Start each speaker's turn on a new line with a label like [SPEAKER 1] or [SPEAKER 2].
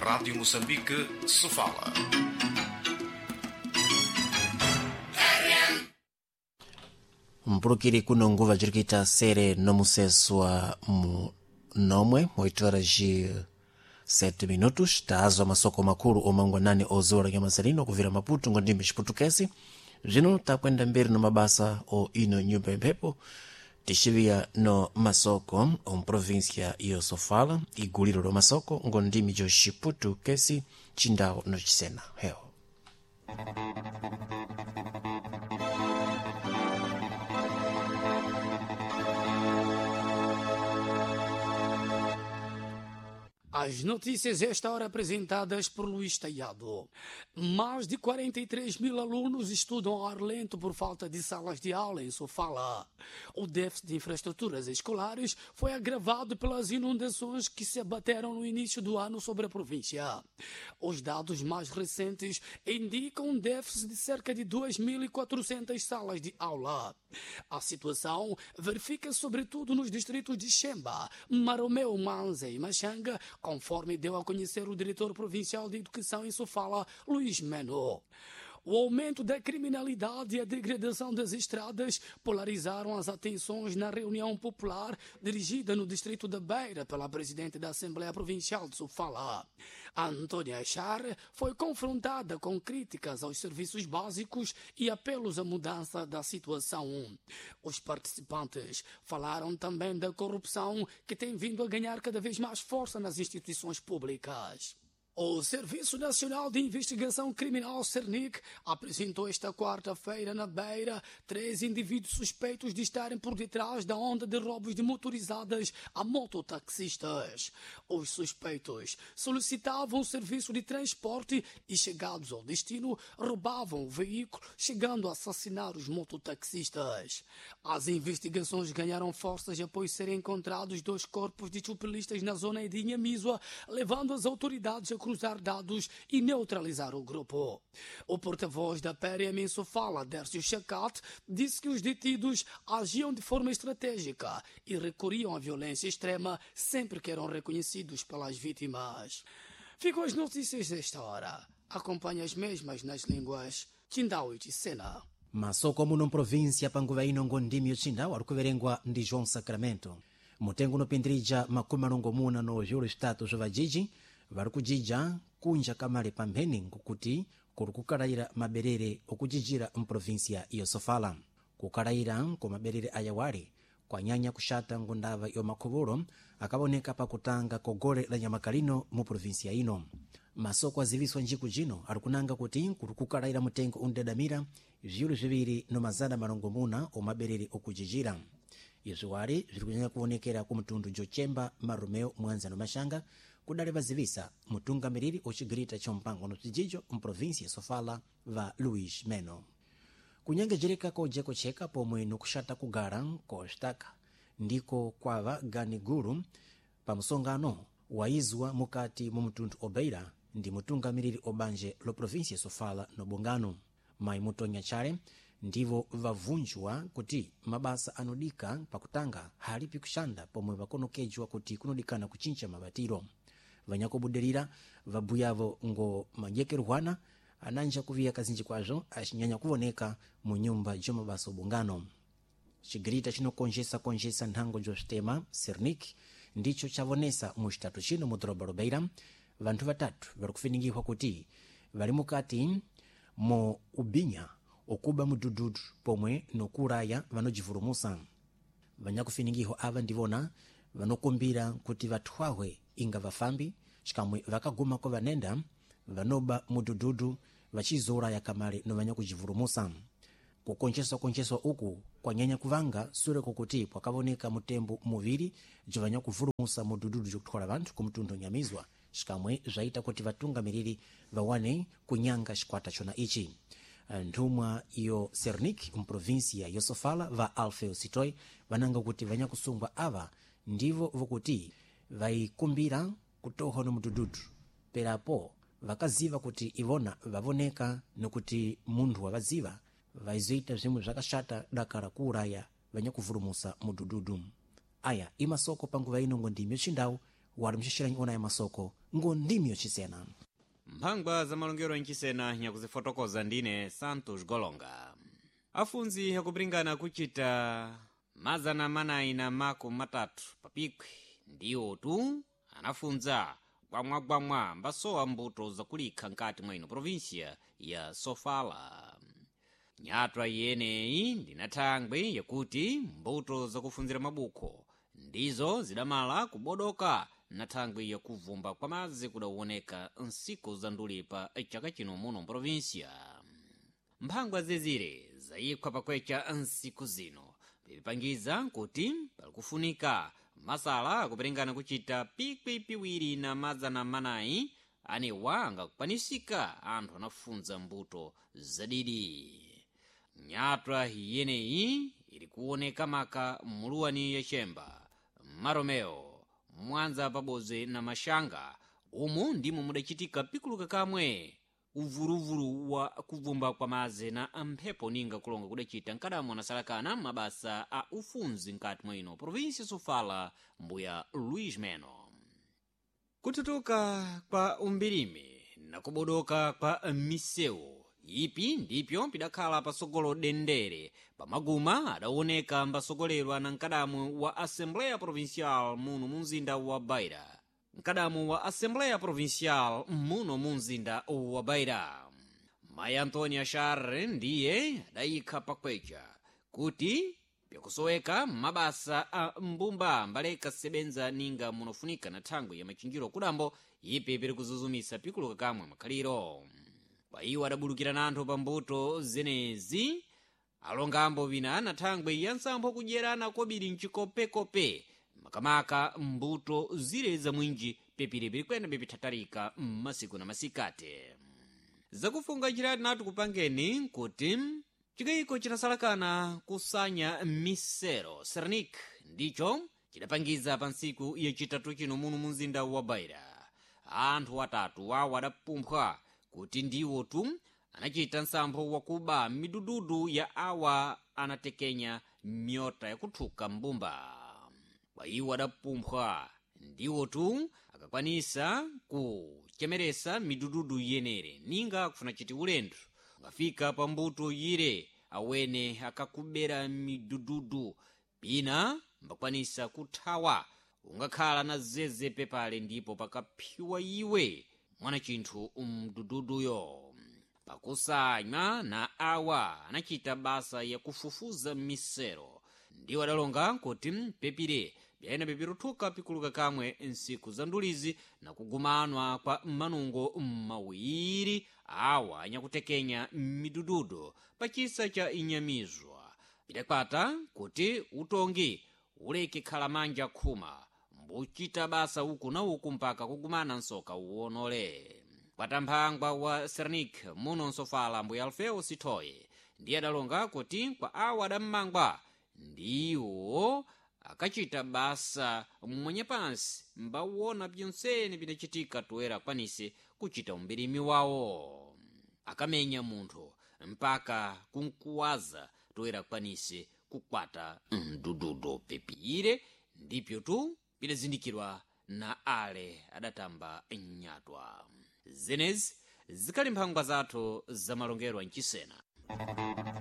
[SPEAKER 1] Rádio Moçambique, Sofala.
[SPEAKER 2] Mpulukiri kuno nguva jirikuita sere nomuseswa mu nomwe 8 horas e 7 minutos. Taazwa masoko makulu omangwanani ozola nyamazalino kuvira Maputo ngondimbe chiputukezi. Zvino takwenda mberi no mabasa o ino nyumba imphepo tixivia no masoko omuprovíncia yo Sofala, iguliro lo masoko ngondimi jo xiputukesi, chindawo no chisena heo.
[SPEAKER 3] As notícias esta hora apresentadas por Luís Taiado. Mais de 43 mil alunos estudam ao ar lento por falta de salas de aula em Sofala. O déficit de infraestruturas escolares foi agravado pelas inundações que se abateram no início do ano sobre a província. Os dados mais recentes indicam um déficit de cerca de 2.400 salas de aula. A situação verifica-se sobretudo nos distritos de Xemba, Maromeu, Manza e Machanga, conforme deu a conhecer o diretor provincial de Educação em Sofala, Luís Meno. O aumento da criminalidade e a degradação das estradas polarizaram as atenções na reunião popular dirigida no distrito da Beira pela presidente da Assembleia Provincial de Sofala. Antônia Char foi confrontada com críticas aos serviços básicos e apelos à mudança da situação. Os participantes falaram também da corrupção que tem vindo a ganhar cada vez mais força nas instituições públicas. O Serviço Nacional de Investigação Criminal, Cernic, apresentou esta quarta-feira na Beira três indivíduos suspeitos de estarem por detrás da onda de roubos de motorizadas a mototaxistas. Os suspeitos solicitavam o serviço de transporte e, chegados ao destino, roubavam o veículo, chegando a assassinar os mototaxistas. As investigações ganharam forças após serem encontrados dois corpos de chupelistas na zona de Inhamizua, levando as autoridades a cruzar dados e neutralizar o grupo. O porta-voz da PRM em Sofala, Dércio Chacat, disse que os detidos agiam de forma estratégica e recorriam à violência extrema sempre que eram reconhecidos pelas vítimas. Ficam as notícias desta hora. Acompanhe as mesmas nas línguas Chindau e Sena.
[SPEAKER 2] Masoko muno mprovíncia panguva ino ngondimi yochindawo ari kuverengwa ndi João Sacramento. Mutengo unopindirija 60 no vyulo vitatu zwa vajiji vari kujija kunja kamale pampheni nkukuti kuri kukalayira maberere okujijira mprovíncia iyo Sofala. Kukalayira ku maberere ayawali kwanyanya kuxata ngundava yomakhuvolo akavoneka pakutanga kogole la nyamakalino mu província ino. Masoko aziviswa njiku jino ari kunanga kuti kuri kukalayira mutengo undadamira vyulo zviwiri no 600 omaberere okujijira. Izvi wali zviri kunyanya kuonekera ku mtundu Jochemba, Marumeo, Mwanza no Mashanga, kudali vazivisa mutungamiriri ocigirita chompango no bzijijo mprovíncia ya Sofala va Luís Meno. Kunyengejereka kojekocheka pomwe nokuxata kugara koxitaka ndiko kwava gani gulu pa msongano waizwa mukati mu mtundu obeira ndi mutungamiriri obanje lo província ya Sofala no bongano. Mayi Mutonya Chale ndivo vavunjwa kuti mabasa anodika pakutanga halipi kuxanda pomwe vakonokejwa kuti kunodikana kuchincha mabatiro. Vanyakubudirira vabuyavo ngo majekerwana ananja kuviya kazinji kwazvo achinyanya kuvoneka mu nyumba jomabasa obungano. Chigirita chinokonjesa-konjesa nthango joswitema Cernic ndicho chavonesa mu xitatu chino mu doroba Lobeira vanthu vatatu vari kufiningihwa kuti vari mukati mo ubinya okuba mudhudhudhu pomwe nokuuraya vanojivurumusa. Vanyakufiningihwa ava ndivona vanokumbira kuti vathwahwe inga vafambi xikamwe vakaguma ko vanenda vanoba mudhudhudhu vachizouraya kamale no vanyakujivurumusa. Kukoncheswa-koncheswa uku kwanyanya kuvanga sure kokuti kwakavoneka mutembo muviri bzovanyakuvurumusa mudhudhudhu jokuthwala vanthu ku mtundu Nyamizwa, xikamwe zvaita kuti vatungamiriri vawane kunyanga xikwata chona ichi. Nthumwa yo Cernic mprovíncia yo Sofala va Alfeo Sitoy vananga kuti vanyakusungwa ava ndivo vokuti vaikumbira kutohwa no mudhudhudhu, perapo vakaziva kuti ivona vavoneka nokuti munthu wavaziva vaizoita zvimwe zvakashata dakara kuuraya vanyakuvurumusa mudhudhudhu. Aya imasoko panguva ino ngo ndimi yochindawu. Wali mxixeranyi ona ya masoko ngo ndimi yocisena.
[SPEAKER 4] Mphangwa za malongero ancisena nyakuzifotokoza ndine Santos Golonga. Afunzi akupiringana kuchita 430 papikwi ndiwo tu anafunza gwamwagwamwa mbasowa mbuto zakulikha nkati mwa ino provinsia ya Sofala. Nyatwa iyeneyi ndinathangwe yakuti mbuto zakufunzira mabukho ndizo zidamala kubodoka na thangwi yakuvumba kwa madzi kudawoneka nsiku za ndulipa chaka chino muno mprovinsia. Mphangwa zezire zayikhwa pakwecha nsiku zino pipangiza kuti palikufunika masala akuperingana kuchita 2,400 anewa angakwanisika anthu anafunza mbuto zadidi. Nyatwa iyeneyi ili kuoneka maka muluwani yachemba, Maromeo, Mwanza pabodzi na Mashanga. Umu ndimo mudachitika pikuluka kamwe uvuluvulu wa kuvumba kwa madzi na mphepo ninga kulonga kudachita nkadamo anasalakana mabasa a ufunzi nkati mwa ino provinsi Sofala, mbuya Luis Meno. Kututuka kwa umbirimi na kubodoka kwa misewu ipi ndipyo pidakhala pasogolo dendere pamaguma adawoneka mbasogolerwa na mkadamu wa Assembleia Provincial muno mu mzinda wa Beira. Mkadamu wa Assembleia Provincial muno mu mzinda wa Beira, mayi Antonia Charre, ndiye adayikha pakwecha kuti pyakusoweka mabasa a mbumba mbaleka sebenza ninga munofunika na thangwi ya machinjiro kudambo ipi piri kuzuzumisa pikuluka kamwe makhaliro. Kwa iwo adabulukira na anthu pa mbuto zenezi alongambo wina na thangwi ya nsampho kudyerana kobiri mchikopekope makamaka mbuto zire za mwinji pepiri pirikwena pipithatarika mmasiku na masikati. Zakufunga njirati natu kupangeni nkuti chikayiko chinasalakana kusanya misero Sernik ndicho chidapangiza pa ntsiku yachitatu chino muno mu mzinda wa Beira. Anthu atatu wawo adapumphwa kuti ndiwo tu anachita nsampho wakuba midududu ya awa anatekenya myota yakuthuka mbumba. Kwa iwo adapumphwa ndiwo tu akakwanisa kuchemeresa midududu yenere ninga kufuna chiti ulendo ungafika pa mbuto yire awene akakubera midududu pina mbakwanisa kuthawa ungakhala na zeze pepale ndipo pakaphiwa iwe mwana chinthu mdududuyo. Pakusanywa na awa anachita basa yakufufuza misero ndiwo adalonga kuti pepire byayena pepiruthuka pikuluka kamwe nsiku za ndulizi na kugumanwa kwa manungo mawiri awa anyakutekenya midududu pachisa cha inyamizwa pidakwata kuti utongi uleke khala manja khuma mbuchita basa uku na uku mpaka kugumana nsoka uwonole. Kwatamphangwa wa Sernik muno nsofala mbuya Alfeo Sithoye ndiye adalonga kuti kwa awa adammangwa ndiwo akachita basa mmwenye pansi mbawona byonsene bidachitika toera akwanise kuchita umbirimi wawo. Akamenya munthu mpaka kunkuwaza toera akwanise kukwata mdududu pepire ndipyo tu bidazindikirwa na ale adatamba nyatwa. Zenezi zikali mphangwa zathu zamalongero mchisena.